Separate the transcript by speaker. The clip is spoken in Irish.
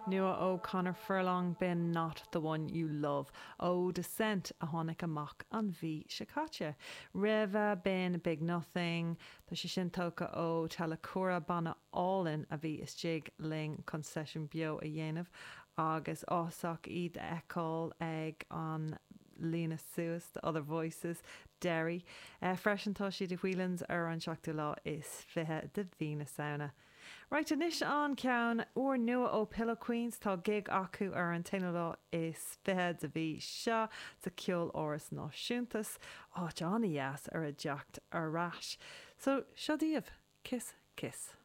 Speaker 1: Nua ó Conor Furlong, b'in Not The One You Love ó Descent a tháinig amach an mhí seo caite. Roimhe, b'in Big Nothing, tá sé sin tógtha ó Telekura, banna álainn a bhí istigh linn chun seisiún beo a dhéanamh agus áthasach iad a fheiceáil ag an líonadh suas, The Other Voices, Derry. Freisin tá siad i Whelan's ar an seachtú lá is 20 de mhí na Samhna. Right, anois an ceann úrnua ó Pillow Queens, tá gig acu ar an t-aonú lá is 20 de mhí seo sa Cheoláras Náisiúnta, áit an-dheas ar a dteacht ar ais. So, seo daoibh, Kiss Kiss.